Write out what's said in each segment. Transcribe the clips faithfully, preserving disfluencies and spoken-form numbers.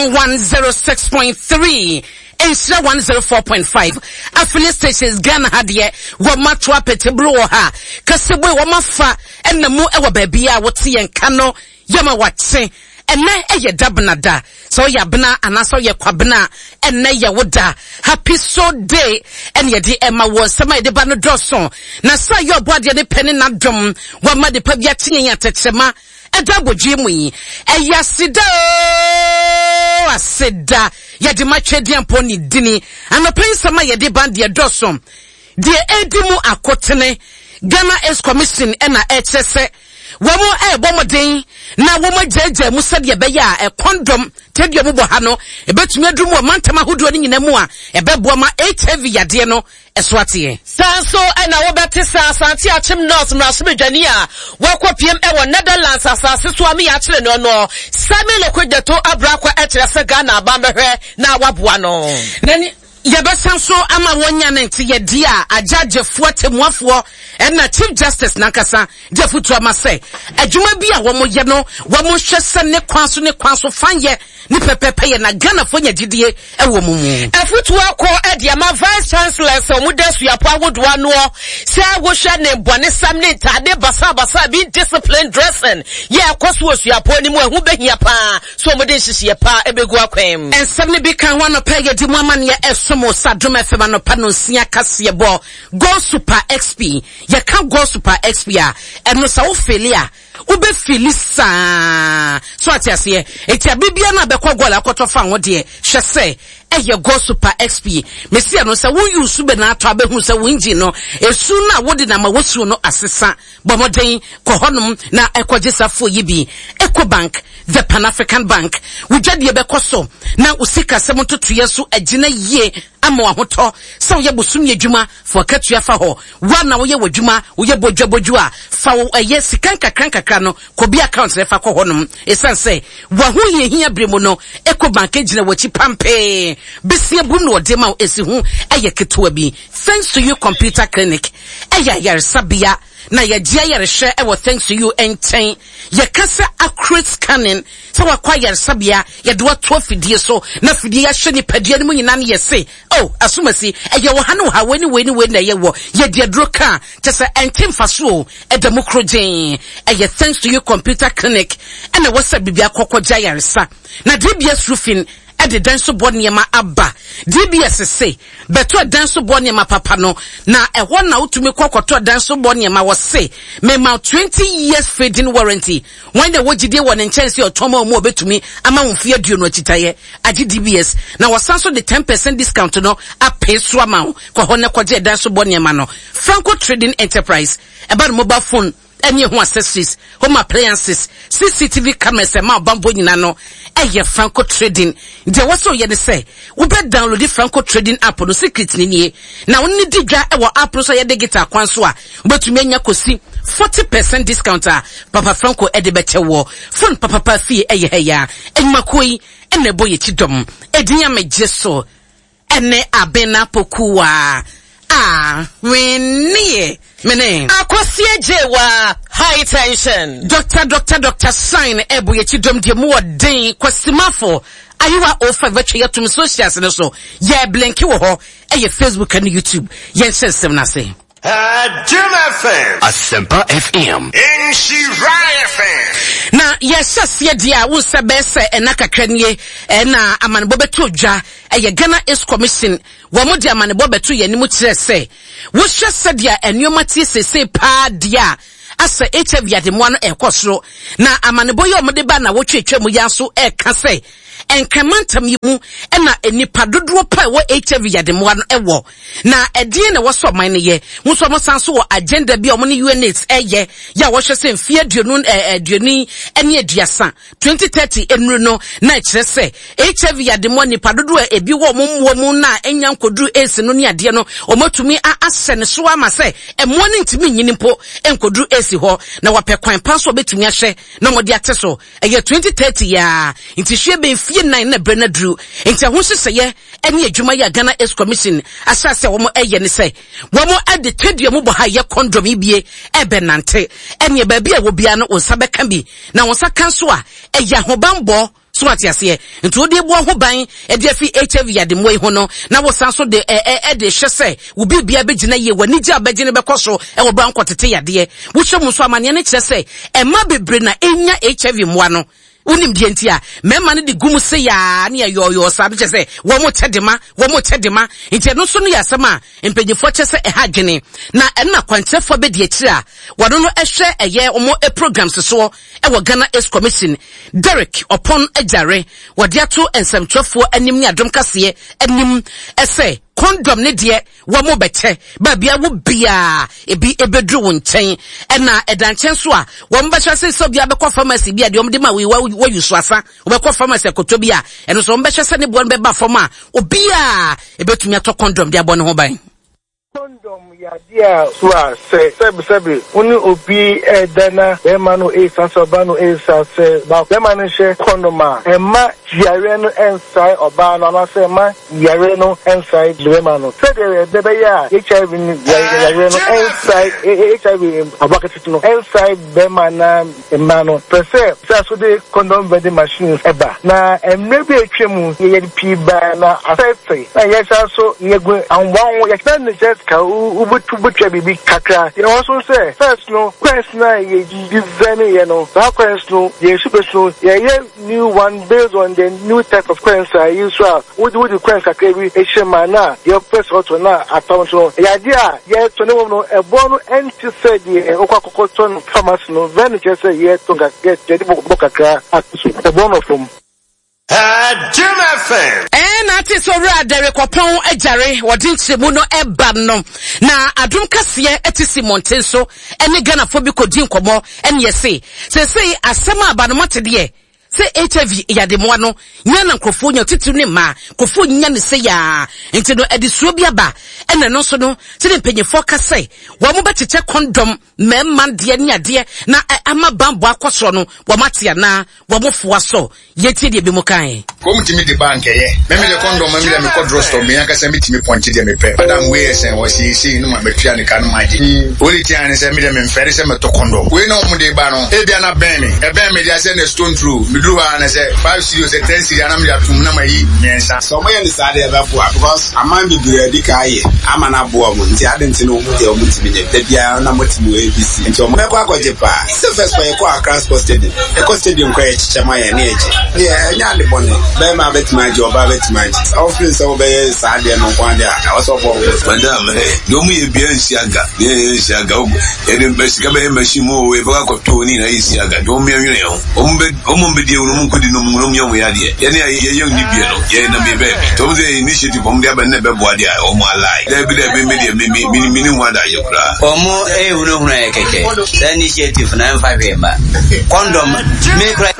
Adom one zero six point three, Nhyira one zero four point five, affiliate stations Ghana ha deɛ wɔn ato apete bolo wɔ ha, kasebo wɔn afa ɛna mu ɛwɔ baabi a wɔte yɛn ka no yɛma wɔate. Ɛnɛ ɛyɛ dabena da, sɛ ɔyɛ abena anaasɛ ɔyɛ kwabena, ɛnɛ yɛ wo da. Happy so day ɛne yɛde ɛma wɔ nsɛm a yɛde ba no dɔɔso. Na sɛ yɛ ɔbɔ adeɛ ne pɛ ne n'adom, wɔama de pa bi akye yɛn atɛkyerɛma ɛda abɔdwe mu yi. Ɛyɛ aseda o, aseda. Yɛde ma twɛdeɛ ne dini. Anɔpɛ nsɛm a yɛde ba deɛ dɔɔso. Deɛ edi mu akotene, Ghana AIDS Commission ɛna ɛkyerɛ sɛ wɔn ɛrebɔ mmɔden na wɔn agyagya mu sɛdeɛ ɛbɛyɛ a ɛkɔndɔm tɛdeɛ mu bɔ ha no ebɛtumi aduru mu wɔ mantam ahodoɔ no nyinaa mu a ɛbɛboa ma H I V yadeɛ no ɛso ateɛ. Saa nso ɛna wobɛte sɛ Asante Akyem North mmarahyɛbadwani a wakɔpiem ɛwɔ Netherlands asase so a meyɛ akyerɛ no no Samuel Okudzeto Ablakwa ɛkyerɛ sɛ Ghana aban bɛhwɛ na waboa no. Nani yɛbɛsan so ama wɔnya ne nte yɛdi a agyagyefoɔ temuafoɔ ɛna Chief Justice nankasa de afotu ama sɛ adwuma bi a wɔn yɛ no wɔn hwɛ sɛ ne kwan so ne kwan so fan yɛ ne pɛpɛpɛ yɛ na Ghanafoɔ nya gyidie ɛwɔ mu mu. Afotu akɔ ɛde ama Vice Chancellor sɛ wɔn da suapo ahodoɔ anoɔ sɛ wohwɛ ne bɔnesɛm ne ntaade basabasa bi discipline dressing yɛ ɛkɔ so wɔ suapo no mu ɛho bɛhia paa so wɔn de nhyehyɛ paa ɛbɛgu akwan mu. Nsɛm no bi ka ho anɔpa yɛdi mu amanneɛ ɛsom wɔ Sadom F M anɔpa no nsia kaseɛ bɔ Gold Super X P. Yɛka Gold Super X P a ɛno sɛ wofeeli a wobɛfeeli saa so ate aseɛ. Enti abibia no a bɛkɔ goal akɔtɔ fa ho deɛ hwɛ sɛ ɛyɛ Gold Super X P. Mesia no sɛ woyi su bɛ na atɔ abɛhu sɛ wo engine no esu no a wode na ma wosuo no asesa. Bɔ mmɔden kɔ hɔnom na ɛkɔgye safoɔ yi bi. Ecobank, the Pan-African Bank, wo dwadeɛ bɛkɔ so na wo sikasɛm ntotoeɛ so agyina yie ama w'ahotɔ. Sɛ woyɛ bosome adwuma, fa w'akatua fa hɔ. Wo na woyɛ w'adwuma, woyɛ bodwabodwo a, fa wo ɛyɛ sika nkakra nkakra no kɔ bi account na fa kɔ hɔnom. Ɛsiane sɛ w'ahohiahia bere mu no, Ecobank gyina w'akyi pampee. Besia bum na wɔde ma wo esi ho ɛyɛ ketewa bi. Thanks to You Computer Clinic, ɛyɛ ayaresabea na yɛgye ayarehwɛ ɛwɔ Thanks to You nkyɛn. Yɛka sɛ accurate scanning, sɛ wakɔ ayaresabea, yɛde wato afidie so, na afidie yɛahyɛ nipadua no mu nyinaa no yɛse, oh, asomasi, ɛyɛ wɔ ha ne wɔ ha, wei ne wei ne wei na ɛyɛ wɔ. Yɛde aduro ka, kyɛ sɛ ɛnte mfa so o, ɛda mu koro gyee. Ɛyɛ Thanks to You Computer Clinic, ɛna ɛwɔ sɛ biribi akɔkɔgye ayaresa. Na D B S Roofing, ɛde dan so bɔ nneɛma aba. D B S se, bɛtɔ dan so bɔ nneɛma papa no, na ɛhɔ na wotumi kɔ kɔtɔ dan so bɔ nneɛma wɔ se, mema twenty years fading warranty. Wɔn na wɔgyidie wɔ ne nkyɛn sɛ ɔtɔn ma wɔn a wɔbɛtumi ama wɔn mfe aduonu akyitaeɛ agye D B S. Na wɔsan so de ten percent discount no apee so ama wo. Kɔ hɔ na kɔgye dan so bɔ nneɛma no. Franco Trading Enterprise, ɛba no mobile phone, ɛne ho accessories, home appliances, C C T V cameras, ɛma ɔbambɔ nyinaa no, ɛyɛ Franco Trading. Deɛ wɔsɔ yɛ ne sɛ, wobɛ download Franco Trading app no, secret ni nie. Na wo ne di dwa ɛwɔ app no so yɛ digital kwan so a, wobɛtumi anya kɔsi forty percent discount a Papa Franco ɛde bɛkyɛ wɔ. Phone papapa fie ɛyɛ ha ya. Enyumakuo yi, ɛna ɛbɔ yɛ kyidɔm. Edin a megye so, ɛne Abena Pokuwa. Ah, wenie. Mene. Akosie Jewa, high tension. Doctor, Doctor, Doctor Sign, ebo ye chidom die mu odin, kwasimafo, ayiwa o five betwe yatum socials no so. Ye blinki wo ho, eye Facebook and YouTube. Ye nsensem na se. Adom F M. Asempa F M. Nhyira F M. Na yɛhyɛ aseɛ deɛ a wo nsa bɛyɛ sɛ ɛna kakra nie, ɛna amanebɔ bɛto dwa, ɛyɛ Ghana AIDS Commission. Wɔn mo de amanebɔ bɛto yɛn anim kyerɛ sɛ, wohwɛ sɛdeɛ nneɛma tie seesei paa deɛ a, asɛ H I V ademoa no ɛrekɔ soro. Na amanebɔ yi a wɔde ba na wɔtwetwe mu yi nso ɛreka sɛ, nkramantam yi mu ɛna nnipa dodoɔ pa a ɛwɔ H I V ademoa no ɛwɔ. Na ɛdeɛn na ɛwɔ sɛ ɔman no yɛ? Wo nso wɔn san so wɔ agenda bi a wɔn ne U N AIDS ɛyɛ, yɛ a wɔhwɛ sɛ mfeɛ aduonu, ɛ, aduonu ne aduasa, twenty thirty nnuru no, na ɛkyerɛ sɛ H I V ademoa nnipa dodoɔ a ebi wɔ wɔn mmoa mu na ɛnya nkɔduru AIDS no ne adeɛ no, wɔatumi a-, ahyɛ ne so ama sɛ mmoa no ntumi nyini mpo nkɔduru AIDS hɔ. Na wɔapɛ kwan pa nso a wɔbɛtumi ahyɛ na wɔde ate so. Ɛyɛ twenty thirty yaa, nti hwɛ bɛn fie nnan na berɛ no aduru. Nti ɛho nhyehyɛeɛ ne adwuma yi a Ghana AIDS Commission ahyɛ ase a wɔn ɛyɛ ne sɛ, wɔn ɛde tadua mu bɔ ha yɛ condom yi bie ɛbɛnante. Ɛneɛ baabi a wɔ biara no, wo nsa bɛka bi. Na wo nsa ka nso a, ɛyɛ ahobanbɔ So ate aseɛ? Nti wode bɔ ho ban ɛde afi H I V yademmoa yi ho no, na wosan so de ɛ ɛ ɛde hyɛ sɛ wo biribia bɛgyina yie, w'ani gye a bɛgye no bɛkɔ so ɛwɔ bra nkɔtete yadeɛ. Wohyɛ mu nso, amanneɛ no kyerɛ sɛ ɛma bebree na ɛnya H I V mmoa no. Wonim deɛ nti a mmarima no de gu mu se yaa ne ɛyɔɔyɔɔ saa no, kyerɛ sɛ wɔn mo kyɛ de ma, wɔn mo kyɛ de ma. Nti ɛno nso no yɛ asɛm a mpanyinfoɔ kyɛ sɛ ɛha adwene, na ɛno na kwankyerɛfoɔ bɛdi akyire a wɔno no ɛhwɛ ɛyɛ wɔn programs soɔ ɛwɔ Ghana AIDS Commission, Derek Ɔpɔn Agyare, wɔde ato nsɛmtwerɛfoɔ anim ne Adom Kaseɛ anim ɛsɛ condom ne deɛ wɔn mo bɛkyɛ baabi a wo biara ebi ebeduru wo nkyɛn. Ɛna ɛda nkyɛn so a wɔn bɛhyɛ sɛ sɛ obiara bɛkɔ pharmacy bi a deɛ wɔn de ma wo wɔyi so asa, wɔbɛkɔ pharmacy akoto bi a ɛno nso wɔn bɛhyɛ sɛ ne boɔ no bɛba fam a obiara ebetumi atɔ condom de abɔ ne ho ban. Condom yɛ adeɛ a so a sɛ sɛbisɛbi wo ne obi ɛɛda na bɛrima no ɛɛsa sɛ ɔbaa no ɛɛsa sɛ bɛrima no hyɛ condom a, ɛma yareɛ no ɛnsae ɔbaa no anaasɛ ɛma yareɛ no ɛnsae bɛrima no, sɛdeɛ ɛbɛyɛ a H I V no yareɛ no ɛnsae, H I V aboa ketewa no ɛnsae bɛrima na mmaa no pɛ sɛ sɛ so de condom vending machines ɛba. Na mmerɛ bi a atwa mu yɛde pii baa na asɛte na yɛsa so yɛgu ahoboa ho yɛkyerɛ ne kyerɛ ka wobɛtu bɛtwa biribi kakra. Yɛwɔ so sɛ first no coins na yɛ design yɛ no, saa coins no yɛ super so yɛyɛ new one based on the new type of coins a yi so a wode wode coins kakra bi ahyɛ mu a na yɛpɛ sɛ ɔtɔ na atɔ nso no, ɛyɛ adeɛ a yɛtɔ ne wɔm no, ɛboɔ no ɛnte sɛ deɛ wokɔ akɔkɔtɔ no pharmacy no. Vɛn kyerɛ sɛ yɛtɔ yɛde bɔ kakra ato so, ɛboɔ no fam. Adom F M. Ɛna ate sɛ Owura Derek Ɔpɔn Agyare wɔde nkyerɛmu no ɛba no, na Adom Kaseɛ ɛte si mmɔnten so ɛne Ghanafoɔ bi kɔdi nkɔmmɔ. Ɛne yɛse seesei asɛm a aba no, mate deɛ sɛ H I V yademoa no nya na nkurɔfoɔ nya, titiri ne mmaa, nkurɔfoɔ nya ne sɛ yaa. Nti no ɛde suo bi aba. Ɛna no nso no, sɛdeɛ mpanyinfoɔ ka sɛ wɔn mo bɛkyekyɛ condom mmarima deɛ ne adeɛ na ama bambɔ akɔ soɔ no, wɔn ate anaa wɔn foa so? Yɛtie deɛ bi mu kan. Wɔn tumi de ba nkɛyɛ mɛmi de condom, mɛmi de mekɔ drugstore, mi ankasa mi tumi pɔnkye deɛ mepɛ. Madam wei yɛ sɛn? Wɔsi esi no ma mɛtua ne ka no ma gye. Wɔde tia ne sɛ mi de mi nfɛre sɛ mɛtɔ condom wei na wɔn de ba no, ebi ana bɛn mi, ɛbɛn mi de asɛ na stone throw mi duru hɔ a na sɛ five cedi o sɛ ten cedi anam de atum na ma yi mmiɛnsa. Sɛ ɔmo yɛ ne saa deɛ, ɛbɛboa because aman bebree adi ka ayɛ ama no aboa ɔmo. Nti ade nti no ɔmo deɛ ɔmo ntumi nyɛ da biara na mo te mu A B C nti ɔmo bɛkɔ akɔgye paa. Sɛ first kɔ yɛkɔ Accra Sports Stadium, yɛkɔ stadium kɔ yɛkyekyɛ ma yɛn ne yɛgye deɛ, ɛnyɛ ade bɔne. Bɛrima bɛtumi agye, ɔbaa bɛtumi agye. Sɛ wofiri sɛ wobɛyɛ saa deɛ no nko adeɛ a, ɛwɔ sɛ ɔbɔ wo. Madam, ɛ deɛ ɔmo yɛ bia nsi aga deɛ yɛ nsi aga, yɛde sika bɛyɛ machine mu o, yɛbɛkɔ akɔtɔ o, ne nyinaa yɛ si aga deɛ ɔmo yɛ nwene ho. Ɔmo bɛ ɔmo bɛ die ɔmo nkɔdi no, ɔmo nyɛ ɔmo yɛ adeɛ. Yɛne a yɛyɛ ni bie no, yɛ nam yɛ baabi nti ɔmo sɛ initiative ɔmo de aba ne bɛboa deɛ a ɔmo alae. Dɛbi dɛbi, mi deɛ mi mi mi mi ni ho adagye koraa. Ɔmo ehunahuna yɛ kɛkɛ. Saa initiative na ɛmfa hwee ma condom mi kura.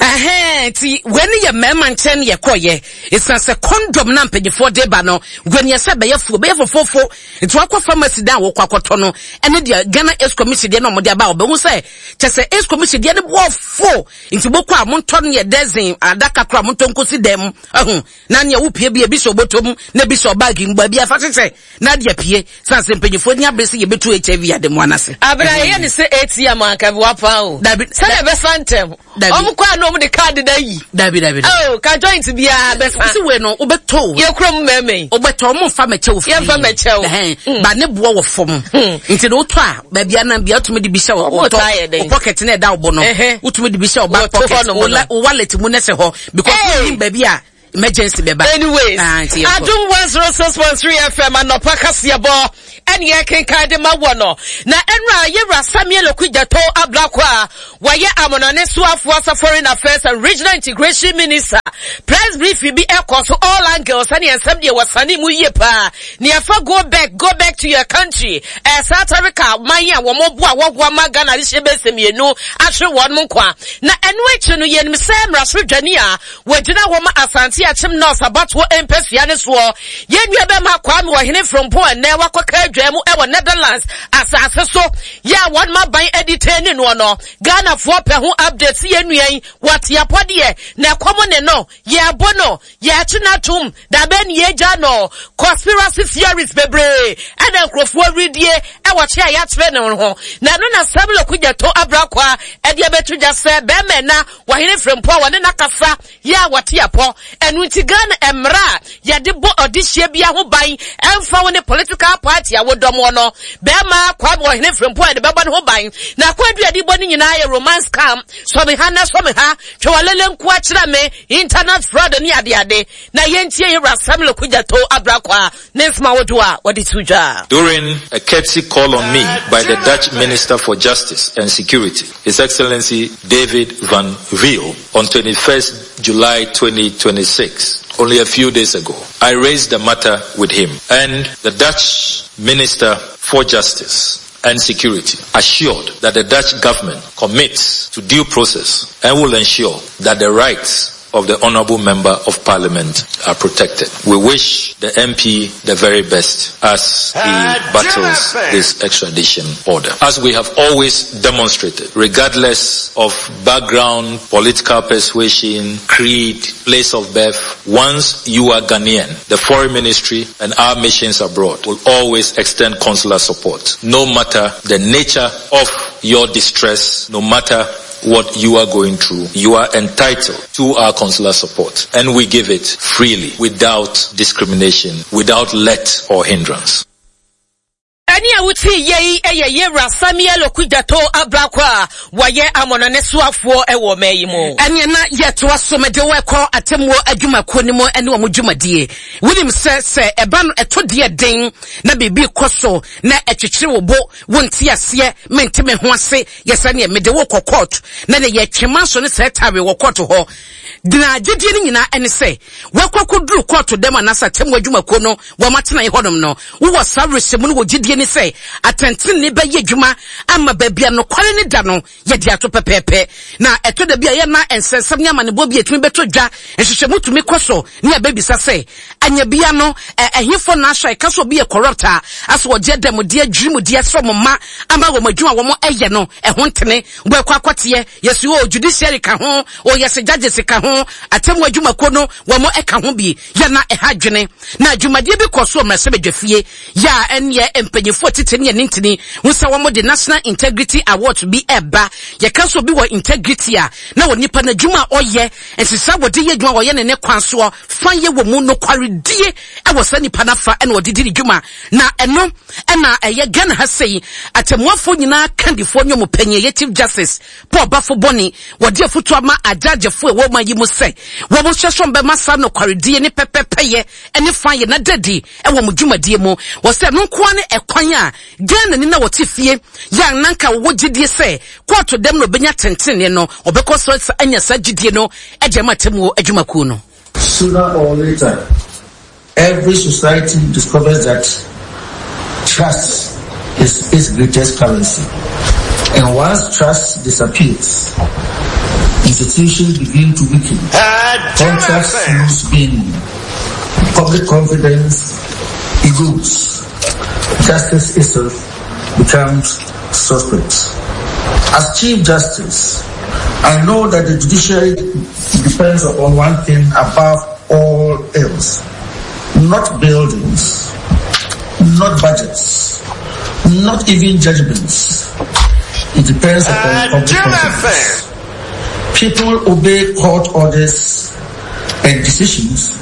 Ɛhɛn, nti wei ne yɛ mmarima nkyɛn ne yɛkɔɔyɛ. Ɛsiane sɛ condom na mpanyinfoɔ de ba no, wei sɛ bɛyɛ fuo, bɛyɛ fofofo. Nti wakɔ pharmacy dan a wɔkɔ akɔtɔ no ɛne deɛ Ghana AIDS Commission deɛ na wɔde aba a, wɔbɛhu sɛ kyɛ sɛ AIDS Commission deɛ no bɔɔ fo. Nti bɔkɔ a montɔ no yɛ dozen adaka koro a montɔ nkosi dɛm ɛho na nea wopie bi ebi sɛ ɔbɔtɔ mu na ebi sɛ ɔbaagi mu baabi afa hyehyɛ na adeɛ pie san sɛ mpanyinfoɔ ni abere sɛ yɛbɛtu H I V ademoa n'ase. Abena, yɛyɛ ne sɛ A T M anka bi wapa o. Dabi. Sɛdeɛ ɛbɛsa ntɛm. Dabi. Ɔmo kɔ a na ɔmo de card da yi. Dabi dabi. Oh, ka joint biara bɛsa. Sisi wei no, wobɛtɔ o. Yɛ kurom mmarima yi. Wobɛtɔ, ɔmo nfa mɛkyɛ wo free. Yɛmfa mɛkyɛ wo. Ɛhɛn, ba ne boɔ wɔ fam. Nti de wotɔ a, baabi anan bia wotumi de bi hyɛ wo Ɔmo taa yɛ dɛn? wo pocket na ɛda wo bo no. Ɛhɛ. Wotumi de bi hyɛ wo back Wɔto pocket, hɔnom wo no. la- wo wallet mu na ɛsɛ hɔ because Hey! wonim baabi a emergency bɛba. Anyways, Ah, nti yɛnkɔ. Adum one oh six point three F M anɔpa kaseɛbɔ ɛne yɛkenkan de ma wɔ no. Na ɛnura yɛwura Samuel Okudzeto Ablakwa a wɔyɛ amonɔne soafoɔ asa Foreign Affairs and Regional Integration Minister, press briefing bi ɛkɔ so, all angles ɛne nsɛm deɛ wɔsane mu yie paa ne yɛfa go back, go back to your country. Ɛɛ South Africa man a wɔn bo a wɔhoa ma Ghana de hyɛ bɛsɛ mmienu ahwere wɔn nkwa. Na ɛno akyi no, yɛnim sɛ mmarahyɛdwani a wɔgyina hɔ ma Asante Asante Akyem North abatoɔ mpasua no soɔ. Yɛn nua bɛma Kwame Ɔhene Frimpong ɛnnɛ wakɔka adwa mu ɛwɔ Netherlands asase so yɛ a wɔn aban adi ne noɔ no. Ghanafoɔ pɛ ho update sɛ yɛn nua yi wɔte apɔdeɛ na ɛkɔm ne no yɛabo no yɛakye no atom dabɛ ne yɛgya no. Conspiracy theories bebree ɛna nkurɔfoɔ redie ɛwɔ kye a yɛakyerɛ ne ho na ɛno na Samuel Okudzeto Ablakwa ɛde abɛto dwa sɛ bɛrima na Ɔhene Frimpong a wɔne n'akasa yɛ a wɔte apɔ. Ɛno nti Ghana mmara a yɛde bɔ ɔdehyia bi ho ban ɛmfa wo ne political party a wodɔm no, bɛrima Kwame Ɔhene Frimpong a yɛde bɛbɔ ne ho ban na akɔadu yɛde bɔ ne nyinaa yɛ romance scam, sɔme ha na sɔme ha, twɛwalele nko akyerɛ me, internet fraud ne adeade. Na yɛntie yɛwura Samuel Okudzeto Ablakwa ne nsɛm ahodoɔ a wɔde to dwa. During a courtesy call on me by the Dutch Minister for Justice and Security, His Excellency David van Weel, on twenty-first July twenty twenty-six, only a few days ago, I raised the matter with him, and the Dutch Minister for Justice and Security assured that the Dutch government commits to due process and will ensure that the rights of the Honorable Member of Parliament are protected. We wish the M P the very best as he battles this extradition order. As we have always demonstrated, regardless of background, political persuasion, creed, place of birth, once you are Ghanaian, the foreign ministry and our missions abroad will always extend consular support, no matter the nature of your distress, no matter what you are going through, you are entitled to our consular support. And we give it freely, without discrimination, without let or hindrance. Ɛne a wotii yei ɛyɛ yɛwura Samuel Okudzeto Ablakwa a wɔyɛ amɔnɔne soafoɔ ɛwɔ ɔman yi mu. Ɛneɛ na yɛtoa so, mede wo ɛkɔ atemmuo adwumakuo no mu ne wɔn dwumadie. Wonim sɛ sɛ ɛba no ɛto deɛ den na biribi kɔ so na ɛkyekyere wo bo, wonte aseɛ, mente me ho ase, yɛ sɛ neɛ mede wo kɔ court na ne yɛtwe so ne sɛ tawe wɔ court hɔ na gyedie no nyinaa ɛne sɛ wakɔ akɔduru court dɛm anaasɛ atemmuo adwumakuo no wɔn atena hɔnom no, wowɔ saa werɛhyɛmu no wɔ gyedie ne sɛ atɛntenene bɛyɛ adwuma ama baabi a nokware ne da no yɛde ato pɛpɛɛpɛ. Na ɛtɔ da bi a yɛna nsɛnsɛm ne amanebɔ bi atumi bɛtɔ dwa, nhwehwɛmu tumi kɔ so ne abɛbisa sɛ anya bia no ɛhefo na ahyɛ ɛka sɛ obi yɛ corrupt a asɛ wɔgye dɛmdeɛ dwirimudeɛ sɛ ɔmo ma ama wɔn adwuma wɔn ɛyɛ no ɛho ntene wɔakɔ akɔteɛ yɛsi o judiciary ka ho o, yɛsɛ judges ka ho, atemmu adwumakuo no wɔn ɛka ho bi. Yɛna ɛha adwene na dwumadie bi kɔ so mmarahyɛbadwa fie yɛ a ɛneɛ mpanyinfoɔ tete ne yɛne ntini ho sɛ wɔn de National Integrity Award bi ɛba. Yɛka so obi wɔ integrity a na wɔ nipa n'adwuma a ɔyɛ nsesa wɔde yɛ adwuma, wɔyɛ ne ne kwan soɔ fa yɛ wɔ mu nokwaredie ɛwɔ saa nipa n'afa ɛna wɔde di ne dwuma. Na ɛno ɛna ɛyɛ Ghana ha sɛyi atemmuafoɔ nyinaa kandifoɔ ne ɔmo panyin ɛyɛ Chief Justice Paul Baffoe Bonnie wɔde afutu ama agyagyefoɔ ɛwɔ ɔman yi mu sɛ wɔn hyɛ so bɛma saa nokwaredie ne pɛpɛpɛyɛ ɛne fa yɛ na dadi ɛwɔ mo dwumadie mu. Wɔsɛ ɛno nkoa ne ɛkwan a Ghana ni na wɔte fie yɛ a nanka wɔwɔ gyidie sɛ kɔɔto dɛm na ɔbɛnya tentene no, ɔbɛkɔ so anya saa gyidie no ɛde ama atemmuo adwumakuo no. Sooner or later, every society discovers that trust is its greatest currency. And once trust disappears, institutions begin to weaken, contracts lose meaning, public confidence erodes, justice itself becomes suspect. As Chief Justice, I know that the judiciary depends upon one thing above all else: not buildings, not budgets, not even judgments. It depends upon public confidence. People obey court orders and decisions